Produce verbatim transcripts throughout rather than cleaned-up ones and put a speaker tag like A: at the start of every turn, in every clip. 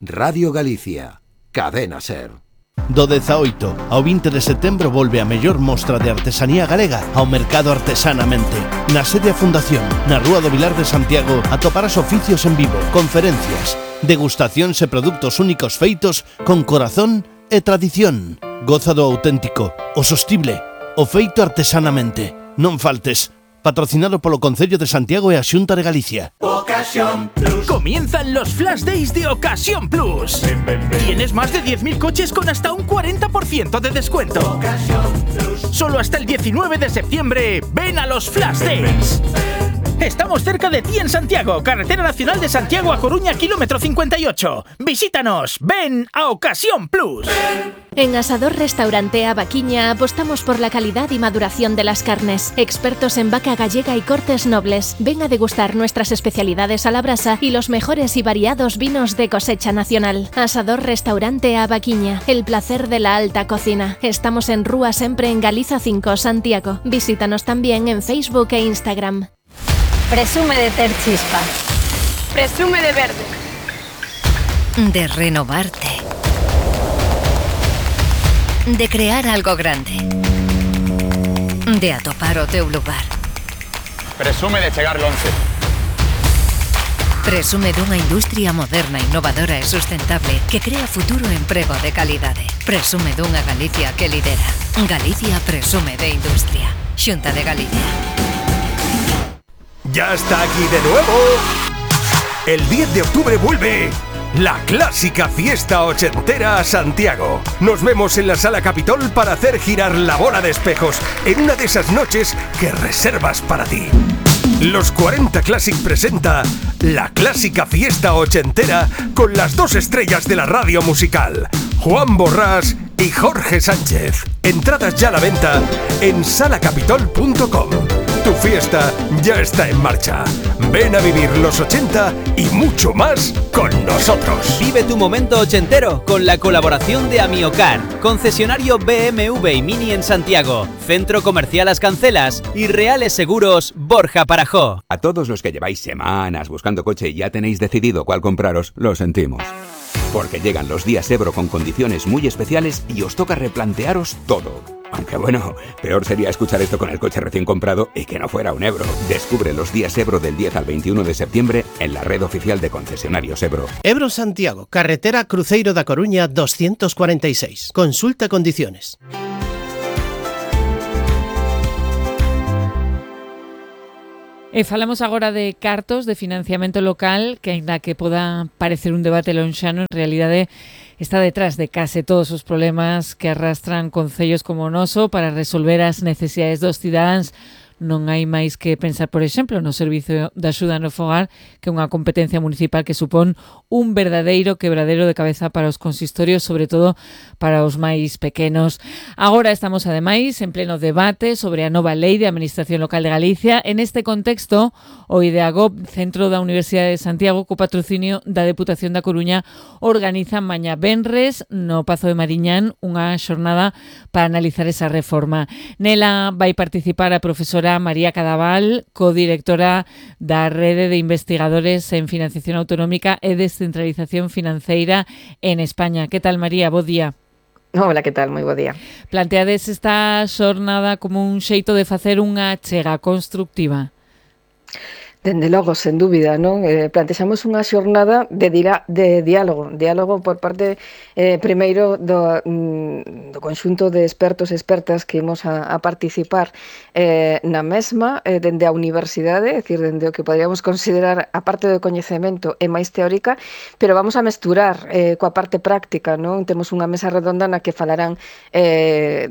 A: Radio Galicia, Cadena Ser.
B: Do dezaoito ao vinte de setembro volve a mellor mostra de artesanía galega ao Mercado Artesanamente. Na sede a Fundación, na Rúa do Vilar de Santiago, atoparás oficios en vivo, conferencias, degustacións e produtos únicos feitos con corazón e tradición. Goza do auténtico, o sostible, o feito artesanamente. Non faltes. Patrocinado polo Concello de Santiago e a Xunta de Galicia.
C: Ocasión Plus. Comienzan los Flash Days de Ocasión Plus. Ven, ven, ven. Tienes más de diez mil coches con hasta un cuarenta por ciento de descuento. Ocasión Plus. Solo hasta el diecinueve de septiembre. Ven a los Flash Days. Estamos cerca de ti en Santiago, Carretera Nacional de Santiago a Coruña, kilómetro cincuenta y ocho. Visítanos, ven a Ocasión Plus.
D: En Asador Restaurante A Vaquiña apostamos por la calidad y maduración de las carnes. Expertos en vaca gallega y cortes nobles. Ven a degustar nuestras especialidades a la brasa y los mejores y variados vinos de cosecha nacional. Asador Restaurante A Vaquiña, el placer de la alta cocina. Estamos en Rúa Sempre en Galiza cinco, Santiago. Visítanos también en Facebook e Instagram.
E: Presume de ter chispa. Presume de verde.
F: De renovarte. De crear algo grande. De atopar o teu lugar.
G: Presume de chegar longe.
F: Presume dunha industria moderna, innovadora e sustentable que crea futuro e emprego de calidade. Presume dunha Galicia que lidera. Galicia presume de industria. Xunta de Galicia.
H: ¡Ya está aquí de nuevo! El diez de octubre vuelve la clásica fiesta ochentera a Santiago. Nos vemos en la Sala Capitol para hacer girar la bola de espejos en una de esas noches que reservas para ti. Los cuarenta Classic presenta la clásica fiesta ochentera con las dos estrellas de la radio musical, Juan Borrás y Jorge Sánchez. Entradas ya a la venta en sala capitol punto com. Tu fiesta ya está en marcha. Ven a vivir los ochenta y mucho más con nosotros.
I: Vive tu momento ochentero con la colaboración de Amiocar, concesionario B M W y Mini en Santiago, Centro Comercial Las Cancelas y Reales Seguros Borja Parajó.
J: A todos los que lleváis semanas buscando coche y ya tenéis decidido cuál compraros, lo sentimos. Porque llegan los días Ebro con condiciones muy especiales y os toca replantearos todo. Aunque bueno, peor sería escuchar esto con el coche recién comprado y que no fuera un Ebro. Descubre los días Ebro del diez al veintiuno de septiembre en la red oficial de concesionarios Ebro.
B: Ebro Santiago, carretera Cruceiro da Coruña doscientos cuarenta y seis. Consulta condiciones.
K: E falamos agora de cartos de financiamento local, que aínda que poda parecer un debate lonxano, en realidade está detrás de case todos os problemas que arrastran concellos como o noso para resolver as necesidades dos cidadáns. Non hai máis que pensar, por exemplo, no Servizo de Axuda no Fogar, que é unha competencia municipal que supón un verdadeiro quebradero de cabeza para os consistorios, sobre todo para os máis pequenos. Agora estamos, ademais, en pleno debate sobre a nova Lei de Administración Local de Galicia. En este contexto, o IDEAGOP, Centro da Universidade de Santiago, co patrocinio da Deputación da Coruña, organizan mañá venres no Pazo de Mariñán unha xornada para analizar esa reforma. Nela vai participar a profesora María Cadaval, codirectora da Rede de Investigadores en Financiación Autonómica e Descentralización Financeira en España. Que tal, María? Bo día.
L: Hola, que tal? Moi bo día.
K: Planteades esta xornada como un xeito de facer unha chega constructiva?
L: Dende logo, sen dúbida, non? Eh, plantexamos unha xornada de, dira, de diálogo, diálogo por parte, eh, primeiro, do, mm, do conxunto de expertos e expertas que imos a, a participar eh, na mesma, eh, dende a universidade, é dicir, dende o que poderíamos considerar a parte do coñecemento e máis teórica, pero vamos a mesturar eh, coa parte práctica, non? Temos unha mesa redonda na que falarán eh,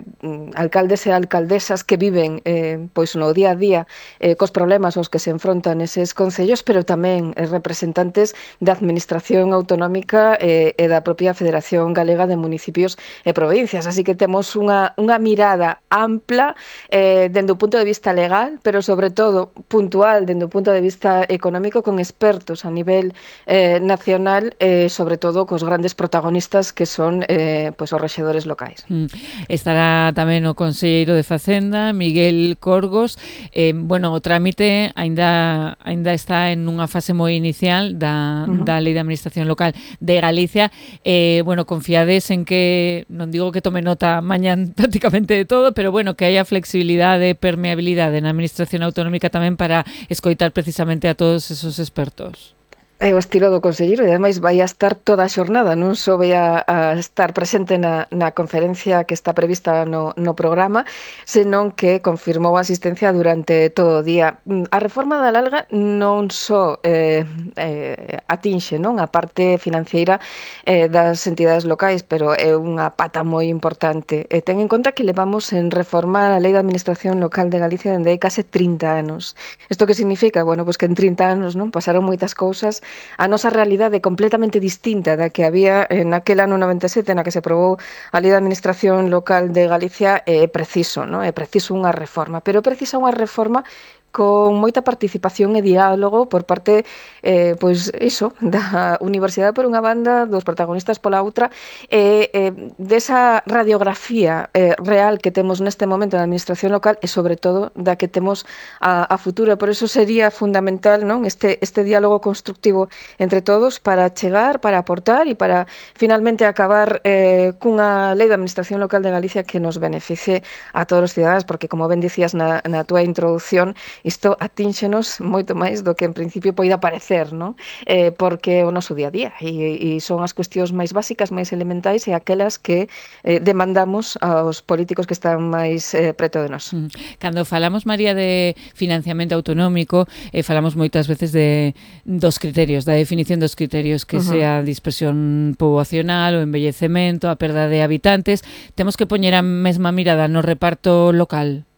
L: alcaldes e alcaldesas que viven eh, pois no día a día eh, cos problemas aos que se enfrontan neses concellos, pero tamén representantes da Administración Autonómica e, e da propia Federación Galega de Municipios e Provincias. Así que temos unha, unha mirada ampla eh, dende o punto de vista legal, pero sobre todo puntual dende o punto de vista económico, con expertos a nivel eh, nacional e eh, sobre todo cos grandes protagonistas que son eh, pues, os rexedores locais.
K: Mm. Estará tamén o conselleiro de Facenda, Miguel Corgos. Eh, bueno, o trámite aínda aínda aínda está en unha fase moi inicial da, uh-huh. da Lei de Administración Local de Galicia. Eh, bueno, confiades en que, non digo que tome nota mañán prácticamente de todo, pero bueno, que haya flexibilidade e permeabilidade na Administración Autonómica tamén para escoitar precisamente a todos esos expertos.
L: É o estilo do conselleiro e ademais vai a estar toda a xornada, non só vai a, a estar presente na, na conferencia que está prevista no, no programa, senón que confirmou a asistencia durante todo o día. A reforma da Lalga non só eh, eh, atinxe non a parte financeira eh, das entidades locais, pero é unha pata moi importante. E ten en conta que levamos en reformar a Lei de Administración Local de Galicia dende hai case trinta anos. Isto que significa? Bueno, pois que en trinta anos non pasaron moitas cousas. A nosa realidade é completamente distinta da que había en aquel ano noventa e sete na que se aprobou a Lei de Administración Local de Galicia. É preciso, non? É preciso unha reforma, pero precisa unha reforma con moita participación e diálogo por parte, eh, pois iso, da Universidade por unha banda, dos protagonistas pola outra, e eh, desa radiografía eh, real que temos neste momento na administración local e, sobre todo, da que temos a, a futuro. Por eso sería fundamental, non, este, este diálogo constructivo entre todos para chegar, para aportar e para finalmente acabar eh, cunha lei de administración local de Galicia que nos beneficie a todos os cidadanos, porque, como ben dicías na, na túa introducción, isto atínxenos moito máis do que en principio poida parecer, non? Eh, porque é o noso día a día e, e son as cuestións máis básicas, máis elementais e aquelas que eh, demandamos aos políticos que están máis eh, preto de nós.
K: Cando falamos, María, de financiamento autonómico, eh, falamos moitas veces de dos criterios, da definición dos criterios, que uh-huh. sea a dispersión poboacional, o embellecemento, a perda de habitantes. Temos que poñer a mesma mirada no reparto local.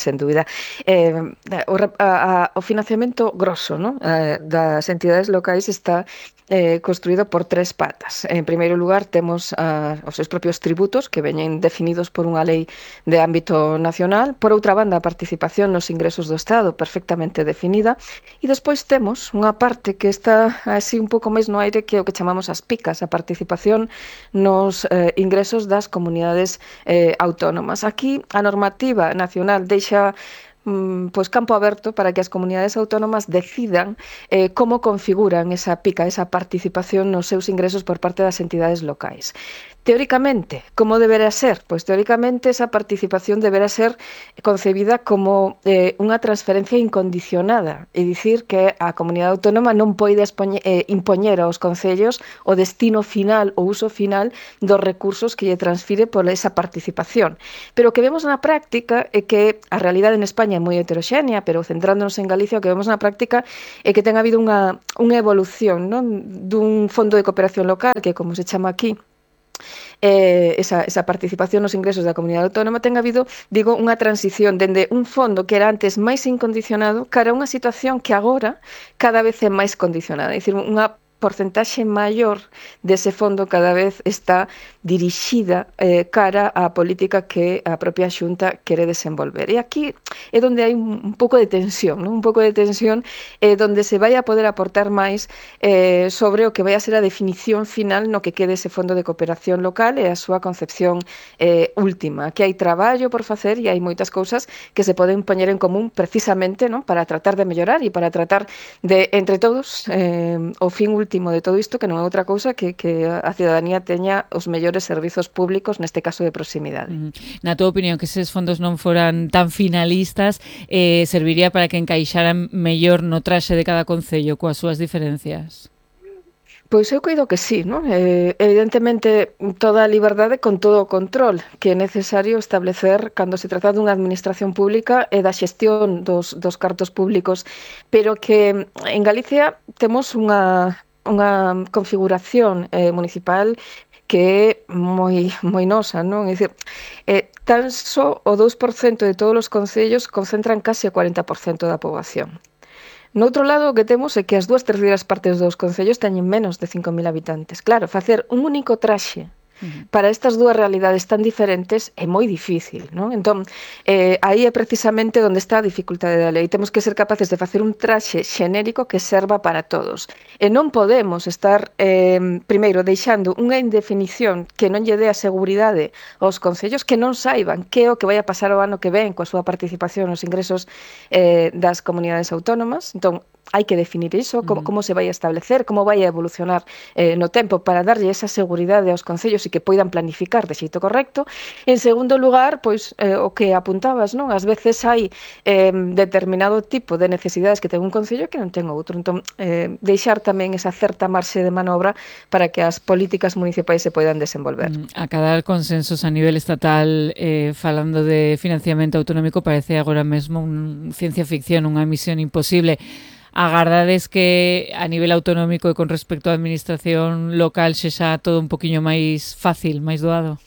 L: Sen dúbida. Eh, o, a, o financiamento grosso, ¿no? eh, das entidades locais está eh, construído por tres patas. En primeiro lugar, temos a, os seus propios tributos, que veñen definidos por unha lei de ámbito nacional. Por outra banda, a participación nos ingresos do Estado, perfectamente definida. E despois temos unha parte que está así un pouco máis no aire, que é o que chamamos as picas, a participación nos eh, ingresos das comunidades eh, autónomas. Aquí, a normativa nacional deixa pois campo aberto para que as comunidades autónomas decidan eh, como configuran esa pica, esa participación nos seus ingresos por parte das entidades locais. Teóricamente, como deberá ser? Pois teóricamente esa participación deberá ser concebida como eh, unha transferencia incondicionada, é dicir que a comunidade autónoma non pode eh, impoñer aos concellos o destino final, o uso final dos recursos que lle transfire por esa participación. Pero o que vemos na práctica é que a realidade en España é moi heteroxénea, pero centrándonos en Galicia, o que vemos na práctica é que ten habido unha, unha evolución, non, dun fondo de cooperación local, que como se chama aquí, Eh, esa, esa participación nos ingresos da comunidade autónoma, ten habido, digo, unha transición dende un fondo que era antes máis incondicionado cara a unha situación que agora cada vez é máis condicionada, é dicir, unha porcentaxe maior dese fondo cada vez está dirixida eh, cara á política que a propia Xunta quere desenvolver. E aquí é onde hai un, un pouco de tensión, ¿no? un pouco de tensión eh, onde se vai a poder aportar máis eh, sobre o que vai a ser a definición final no que quede ese fondo de cooperación local e a súa concepción eh, última. Aquí hai traballo por facer e hai moitas cousas que se poden poñer en común precisamente, ¿no? para tratar de mellorar e para tratar de, entre todos, eh, o fin último último de todo isto, que non é outra cousa que, que a cidadanía teña os mellores servizos públicos, neste caso de proximidade.
K: Na tua opinión, que eses fondos non foran tan finalistas, eh, serviría para que encaixaran mellor no traxe de cada concello coas súas diferencias?
L: Pois eu coido que sí, non? Eh, evidentemente, toda a liberdade con todo o control que é necesario establecer cando se trata dunha administración pública e da xestión dos, dos cartos públicos, pero que en Galicia temos unha, unha configuración eh, municipal que é moi, moi nosa, non? É dicir, eh, tan só o dous por cento de todos os concellos concentran case o cuarenta por cento da poboación. No outro lado, o que temos é que as dúas terceiras partes dos concellos teñen menos de cinco mil habitantes. Claro, facer un único traxe Uh-huh. Para estas dúas realidades tan diferentes é moi difícil, non? Entón, eh, aí é precisamente onde está a dificultade da lei. Temos que ser capaces de facer un traxe xenérico que serva para todos. E non podemos estar, eh, primeiro, deixando unha indefinición que non lle dé a seguridade aos concellos, que non saiban que é o que vai a pasar o ano que ven coa súa participación nos ingresos eh, das comunidades autónomas. Entón, hai que definir iso, como, como se vai a establecer, como vai a evolucionar eh, no tempo para darlle esa seguridade aos concellos e que poidan planificar de xeito correcto. En segundo lugar, pois eh, o que apuntabas, non? Ás veces hai eh, determinado tipo de necesidades que ten un concello que non ten outro. Entón, eh, deixar tamén esa certa marxe de manobra para que as políticas municipais se poidan desenvolver.
K: Acadar consensos a nivel estatal eh, falando de financiamento autonómico parece agora mesmo un ciencia ficción, unha misión imposible. Agardades que a nivel autonómico e con respecto á administración local sexa todo un poquinho máis fácil, máis doado?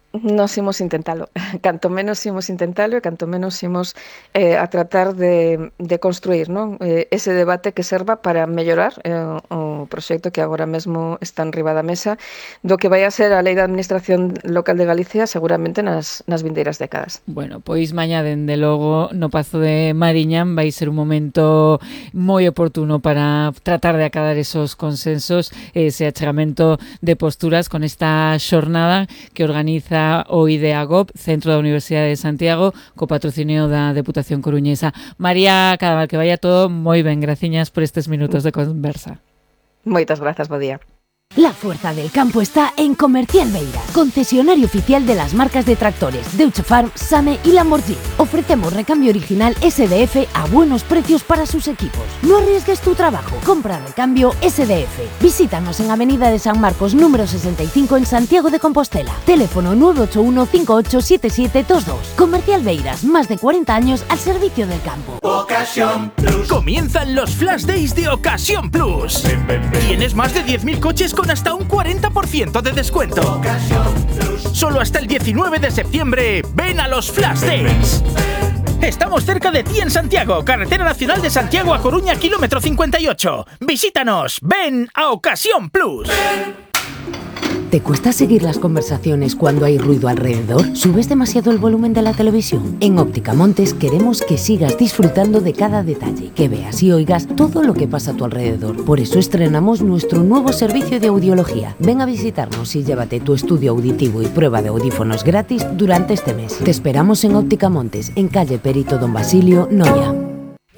L: Nos imos intentalo, canto menos imos intentalo e canto menos imos eh, a tratar de, de construir, non? Eh, ese debate que serva para mellorar eh, o proxecto que agora mesmo está en riba da mesa do que vai a ser a Lei da Administración Local de Galicia seguramente nas, nas vindeiras décadas.
K: Bueno, pois mañá dende logo no Pazo de Mariñán vai ser un momento moi oportuno para tratar de acadar esos consensos, ese achegamento de posturas con esta xornada que organiza o IDEAGOP, Centro da Universidade de Santiago, co patrocinio da Deputación Coruñesa. María Cadaval, que vaya todo moi ben. Graciñas por estes minutos de conversa.
L: Moitas grazas, bo día.
M: La fuerza del campo está en Comercial Beiras, concesionario oficial de las marcas de tractores Deutsche Farm, Same y Lamborghini. Ofrecemos recambio original S D F a buenos precios para sus equipos. No arriesgues tu trabajo, compra recambio S D F. Visítanos en Avenida de San Marcos número sesenta y cinco en Santiago de Compostela. Teléfono nueve ocho uno cinco ocho siete siete dos dos. Comercial Beiras, más de cuarenta años al servicio del campo.
C: Ocasión Plus. Comienzan los Flash Days de Ocasión Plus. Ven, ven, ven. Tienes más de diez mil coches con hasta un cuarenta por ciento de descuento. Solo hasta el diecinueve de septiembre, ven a los Flash Days. Estamos cerca de ti en Santiago, Carretera Nacional de Santiago a Coruña, kilómetro cincuenta y ocho. Visítanos, ven a Ocasión Plus.
M: ¿Te cuesta seguir las conversaciones cuando hay ruido alrededor? ¿Subes demasiado el volumen de la televisión? En Óptica Montes queremos que sigas disfrutando de cada detalle, que veas y oigas todo lo que pasa a tu alrededor. Por eso estrenamos nuestro nuevo servicio de audiología. Ven a visitarnos y llévate tu estudio auditivo y prueba de audífonos gratis durante este mes. Te esperamos en Óptica Montes, en calle Perito Don Basilio, Noia.